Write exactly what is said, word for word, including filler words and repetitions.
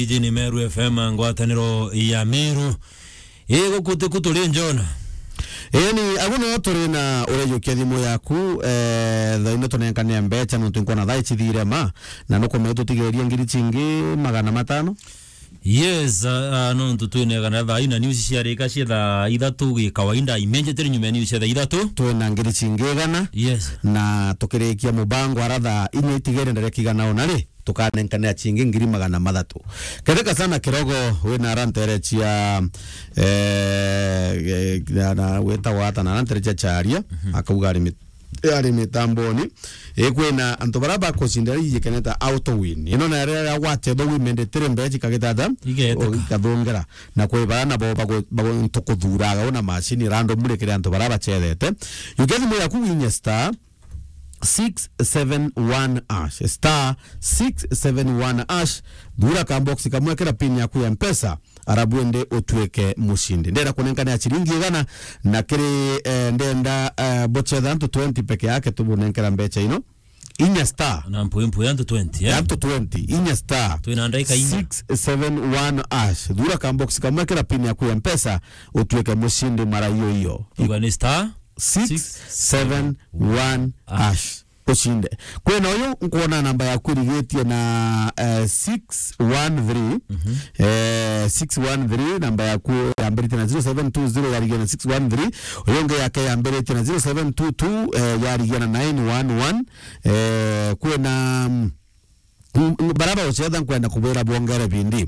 Iji ni Meru F M, ngwataniro ya Meru. Ii, guku tiku turi Njona. Ii, ni agu no turi na urejukia thimu yaku, eh, thaa ino tunenkane mbecha nontu nkwona thaa ici cithire ma, na nukumenya tutigeria ngiri cingi magana matano? Yes, ah, ah, nontu twinegana thaa ina news ciarika cia thaa ithatu gi kawaida, immediately nyuma ya news cia thaa ithatu. Twina ngiri cingi igana. Yes. Na tukirikia mubango ara thaa inya itigere ndareka igana ona ri, tukanenkanira cingi ngiri magana mathatu. Ketheka sana kirogo wina arantere cia, eh, eh, na, na witagwa ata na arantere cia Charia, mhm, akauga ari mit-, ari mitamboni. Ikwina antu bara bakucindira ijikeneta auto win. Ino na ria gwacetha women tiri mbeji kagitata. Igeteka. Ikathungera. Na kwi bara nabo bagu-, bagu-, ntukuthuraga una macini rando murikire antu bara bacethete. Yukethimwe yaku winye star six seven one hash, star six seven one hash. Thura ka box kamwe kira pin yaku ya Mpesa, arabu ende utuike mushindi. Ndenda kunenkana ya ciringi igana, na kiri, eh, ndenda, eh, bucetha antu twenty peke yake tubunenkera mbecha ino. Inya star. Na mpwi mpwi antu twenty, eh? Antu twenty, inya star. Twina ndaika inya. Six seven one hash. Thura ka box kamwe kira pin yaku ya Mpesa, utuike mushindi mara iyo iyo. Uga ni star six seven one hash. Ucinde. Kwina uyu nkwona namba yaku irigitie na, eh, six one three. Mhm. Eh, six one three, namba yaku yambiritie na zero seven two zero, yarigia na six one three. Uyu ungi yake yambiritie na zero seven two two, eh, yarigia na nine one one. Eh, kwina, mm, mm, baraba ucetha nkwenda kubwira bwongere bindi.